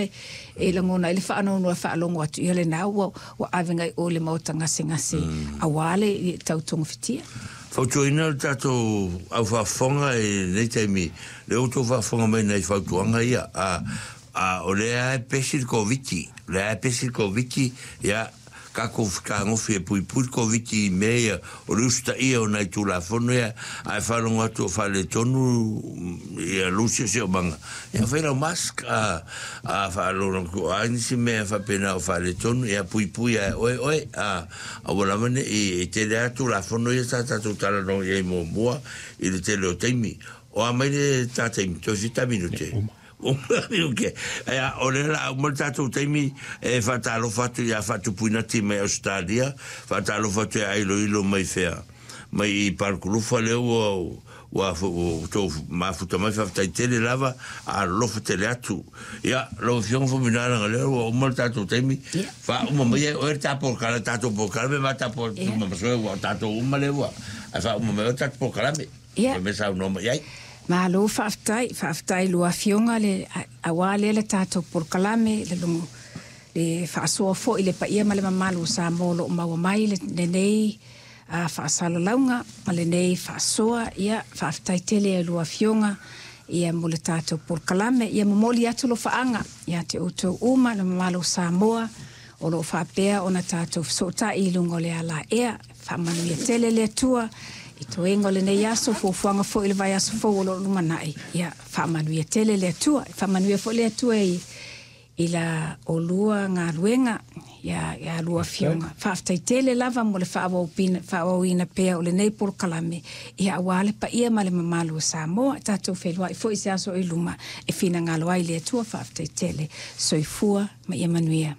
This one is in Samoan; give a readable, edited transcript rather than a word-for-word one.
lena e lagona ai le faanoanoa e faalogo atu, ia lena ua ua ave agai i o i le maota gasegase aua le tau togafitia. Fautuaina le tatou au faafofoga i lenei taimi, lea ua outou faafofoga mai i nai fautuaga ia, a, a o lea lava e pesi le Koviti, o lea lava e pesi le Koviti, ia, tatou fetagofi e puipui le Koviti i mea ia o le usitaia o nai Tulafono ia, ae faalogo atu o faaletonu ia lou siosiomaga, ia fai lau mask, a, a faalogo atu o a nisi mea faapena o faaletonu, ia puipui lava e oe oe, a, aua lava ne i, e tele lava Tulafono ia sa tatou talanoa i ai muamua i le tele o taimi. O a mai le ta taimi, toe fita minute. Ok, ea, o lea la a uma le tatou taimi e faatalofa atu ia Faatupuinati mai Ausetalia, faatalofa atu ia Ailoilo mai fea, mai i Palukulufa lea ua ua outou mafuta mai, faafetai tele lava, alolofa tele atu. Ia, lau Afioga Faumuina leaga lea ua uma le tatou taimi, faauma mai e oe le ta polokalame, tatou polokalame ma ta polokalame, ua tatou uma lea ua, ae faauma mai oe le tatou polokalame. Ia. Mea saunoa mai ai. Malo faafetai, faafetai i lua afioga le aua lea le tatou polokalame le logo le faasoa foi le paia ma le mamalu o Samoa o lo o maua mai lenei faasalalauga ma lenei faasoa. Ia, faafetai tele i lua afioga ia mo le tatou polokalame. Ia momoli atu alofaaga ia te outou uma le mamalu o Samoa o lo o faapea ona tatou fesootai i luga o le alaea. Faamanuia tele le Atua i toega o lenei aso, fuafuaga foi i le vaiaso fou o lo o lumanai. Ia, faamanuia tele le Atua. Faamanuia foi le Atua i, i la olua galuega, ia, ia lua afioga. Faafetai tele lava mo le faaauauina pea o lenei polokalame, ia aua le paia ma le mamalu o Samoa. Tatou feiloai foi i se aso i luma e finagalo ai le Atua. Faafetai tele. Soifua ma ia manuia.